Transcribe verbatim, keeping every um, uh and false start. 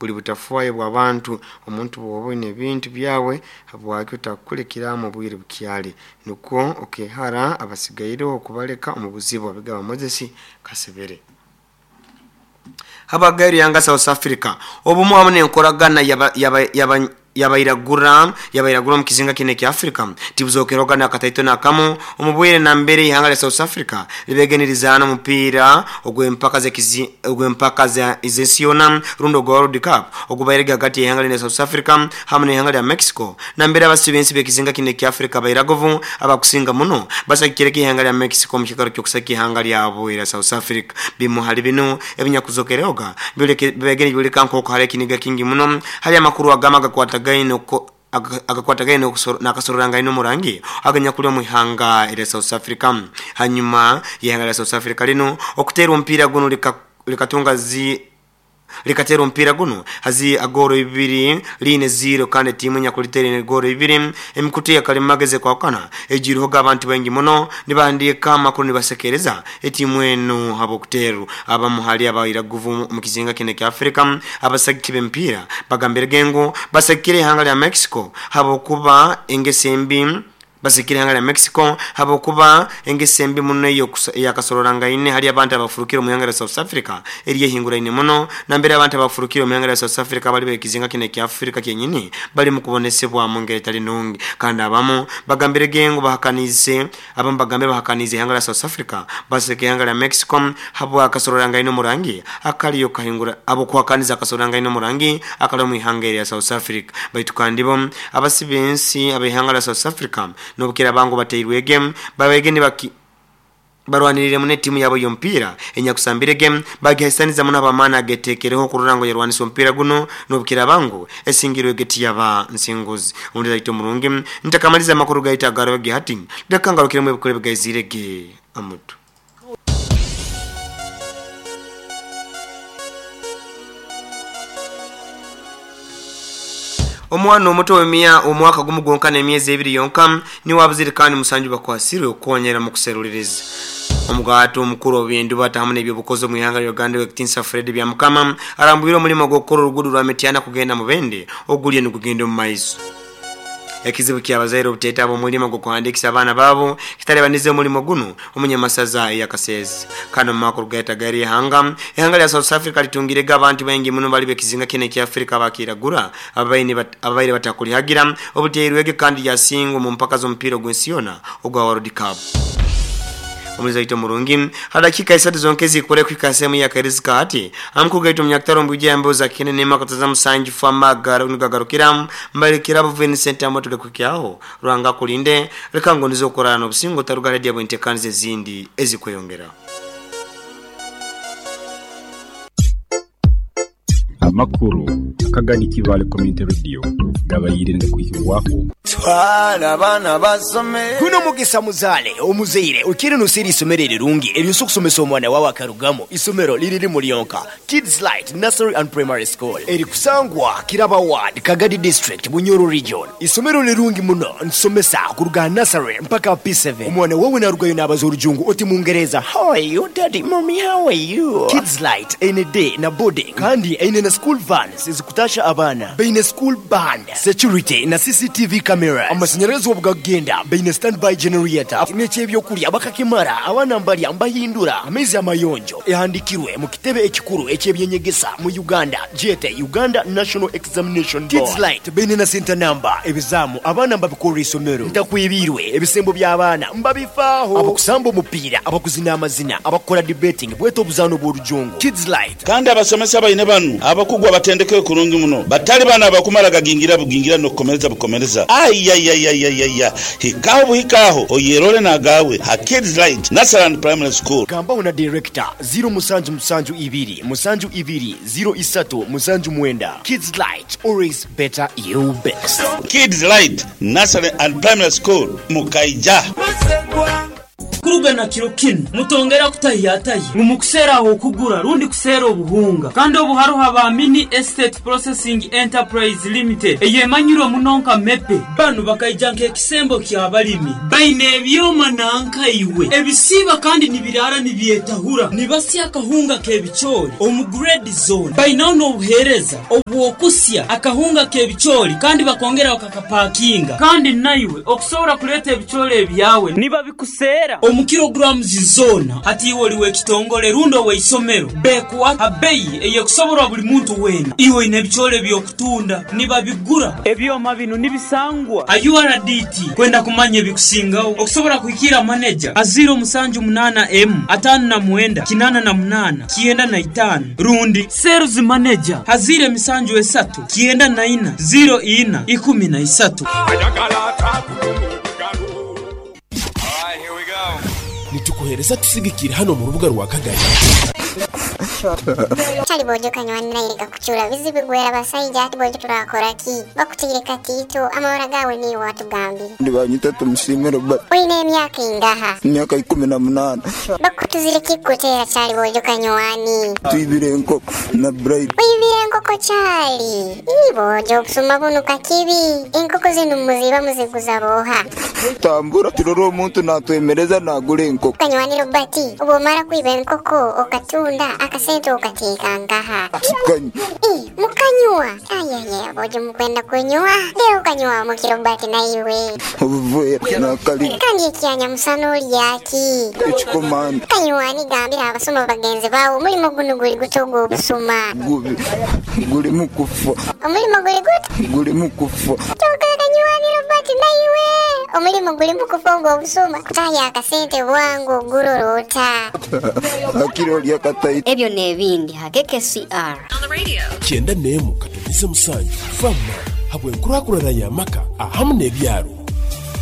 Buli butafwayo bw'abantu. Omuntu bw'oba oine ebintu byawe, habwaki otakulekeramu obwire bukyali, nukwo okehara abasigaireho okubaleka omu buzibu. Abigaba Moses Kasebere. Habagairo yanga South Africa obumu hamu n'enkoragana yaba yaba yaba yabairagura yabairagura omu kizinga kinu ekya Africa tibuzokeroga n'akataito n'akamu. Omu bwire nambere ihanga lya South Africa libegenerizaana omupiira ogw'empaka z'ekizi ogw'empaka za ez'ensi yoona rundi ogwa World Cup ogubairege hagati y'ihanga lino South Africa hamu n'ihanga lya Mexico, nambere abasi b'ensi b'ekizinga kinu ekya Africa abairaguvu abakusinga muno basagikireko ihanga lya Mexico omu kiikaro ky'okusagika ihanga lyabo erya South Africa. Bimu hali binu ebinyakuzokerehoga bibegere nibyoleka nk'oku hali ekiniga kingi muno hali amakuru agamu agakwatagaine agakwatagaine n'akasororangano omurangi aganyakuli omu ihanga erya South Africa. Hanyuma y'ihanga lya South Africa linu okuteera omupiira guno likatunga zi likateera omupiira guno hazi agooro ibiri liine zero, kandi etiimu enyakuliteera ine gooro ibiri. Emikutu eyakalimagezi ekwahukana ejiirehoga abantu baingi muno nibahandiika amakuru nibasekereza etiimu enu habw'okuteerwa. Abamu hali abairaguvu omu kizinga kinu ekya Africa abasagiki b'emipiira bagambirege ngu basagikire ihanga lya Mexico habwokuba engeso embi basikire ihanga lya Mexico habwokuba engeso embi muno eyakasoroorangaine hali abantu abafurukire omu ihanga lya South Africa eryehinguraine muno, nambere abantu abafurukire omu ihanga lya South Africa bali b'ekizinga kinu ekya Africa kyenyini bali mu kubonesebwa mu ngeri etali nungi. Kandi abamu bagambirege ngu bahakaniize abamu bagambire bahakaniize ihanga lya South Africa baseka ihanga lya Mexico habwakasoroorangaine omurangi akaliyo kahingura habwokuhakaniza akasoroorangaine omurangi akali omu ihanga erya South Africa. Baitu kandi bo abasi b'ensi ab'ihanga lya South Africa n'obukiraaba ngu batairwege babaige nibaki barwanirire muno etiimu yabo y'omupiira enyakusambirege bagihaisaniza muno ab'amaani ageteekereho okurora ngu yarwanisa omupiira guno n'obukiraaba ngu esingirwege tiyaba nsinguzi. Omulizi aita omurungi ntakamaliza amakuru gaitu agaroge hati leka ngarukiremu ebikuru ebigaizirege amutu. Omwana omuto w'emya omwaka gumu gwonka n'emyezi ebiri yonka niwe abuzire, kandi musanju bakwasirwe okukonyera mu kuseruliriza. Omugaati omukuru ow'ebyendubata hamu n'ebyobukozi omu ihanga lya Uganda Owekitinsa Fred Byamukama arambwire omulimo gw'okukora oruguudo rwa Mityana kugenda Mubende ogulyo nigugenda omu maiso. Ekizibu ky'abazaire obuteetaba omulimo gw'okuhandiikisa abaana baabo kitalibanize omulimo gunu omunyamasaza ey'Akasese. Kandi omu makuru gaita gari ihanga ihanga lya South Africa litungirege abantu baingi muno bali b'ekizinga kinu ekya Africa abakiragura ababaire batakulihagira obuteirwege, kandi lyasingwa omu mpaka z'omupiira ogw'ensi yoona ogwa World Cup. Omulizi aita omurungi ha dakika isatu zonka ezikore kuhika sehemu ya karizika hati amakuru gaitu omunyakataro omu bwijja yambeho za kinene nemakataza musanju famagara nigagarukira mbalikira Vincent Amoto gakuhikyaho. Ruhanga akulinde, leka ngonize okurara n'obusingo otaruga radio bwentekaniza ezindi ezikweyongera. Amakuru akagani Kibale Community Radio gabayire ngakuhibwaho. Twala abaana basome. Guno mugisa muzaale omuzaire okire nosera isomero erirungi eryosa okusomesa omwana wawe akarugamu. Isomero liriri lyonka, Kids Light Nursery and Primary School, erikusangwa Kiraba Ward, Kagadi District, Bunyoro Region. Isomero lirungi muno, nsomesa kuruga nursery mpaka P seven. Omwana wawe narugayo nabaza orujungu oti mungereza, "How are you, daddy? Mommy, how are you?" Kids Light eine day na boarding, kandi eine na school vans ezikutasha abaana. Baine school band, security na C C T V cameras. Amasanyalazi obugagenda baine standby generator, n'ekyebyokulya bakakimara, abaana mbalya mbahindura, amaizi amayonjo. Ehandikirwe mu kitebe ekikuru ekyebyenyegesa mu Uganda, jete Uganda National Examination Board. Kids Light baine na center number. Ebizamu abaana mbabikorera isomero, ntakwibirwe ebisembo by'abaana mbabifaaho, abakusamba omupiira, abakuzina amazina, abakukora debating, bweta obuzaano bw'orujungu. Kids Light. Kandi abasomesa baine banu abakugu abatendekere kurungi muno, batali bano abakumala gagingira bugingira n'okukomereza bukomereza. Ayayayayaya, hikaho buhikaho oyerole nagawe ha Kids Light Nursery and Primary School. Gambaho na director zero musanju musanju ibiri musanju ibiri zero isatu musanju mwenda. Kids Light, always better you best. Kids Light Nursery and Primary School mukaija. Kuruga na kiro kinu mutongera kutahiyatahi mumukusera okugura rundi kusera obuhunga kandi obuharuha ba Mini Estate Processing Enterprise Limited eyemanyirwe munonka mepe banu bakaija nk'ekisembo ky'abalimi baine ebyoma nankaiwe ebisiba kandi nibirara nibyetahura nibasya akahunga k'ebicoori omu grade zone bainaho n'obuheereza obwokusya akahunga k'ebicoori kandi bakongera bakakapakinga kandi naiwe okusobola kuleeta ebicoori ebyawe niba bikuseera omu kilograms zona hati iwe oliwe ekitongole rundi oweisomero bekuwa abeyi eyekusoborwa buli muntu wena iwe ine ebicoori ebyokutunda nibabigura ebyoma bino nibisangwa a U R D T kwenda kumanya ebikusingaho okusobola kuhikira manager a zero musanju munana M atano na mwenda kinana na munana kienda na itano rundi sales manager hazire misanju esatu kienda na ina zero ina ikumi na isatu. Nitukuhereza tusigikira hano mu rubuga rwa Kagari. Chali bojo kanywanira ireka kuchura bizibu gwera basayija ati bojo turakora ki bakutigire katito amahora gawe ni watugambi ndibanyita tumushime Robert oine emyaka ingaha imyaka ikumi na munana bakutuzire kikutera chali bojo kanywani twibire enkoko na bright wibire enkoko chali ibojo okusuma buno kakibi enkoko zino muziba muziguza boha tambura turoro omuntu natwemereza nagura enkoko kanywani Robert ubomara kwiba enkoko okatunda akasente okateeka nkaha Eh, mukanywa ayaya bojo mukwenda kunywa leo kanywa mukirobati naiwe obuvuya nakali kandi ekyanya musana olyaki ekikomanda kanywani gambira abasoma bagenzi bawo omulimo guno guli guto ogw'obusuma gubi guli mukufa omulimo guli guto guli mukufa kyokka kanywani Robert naiwe omulimo guli mukufa ogw'obusuma kutaya akasente bwangu ogurorota akiro lyakataito ebyo n'ebindi hakeke C R Kyenda nemu katumize musanju fama habwe nkurakurana ya maka ahamu n'ebyaro.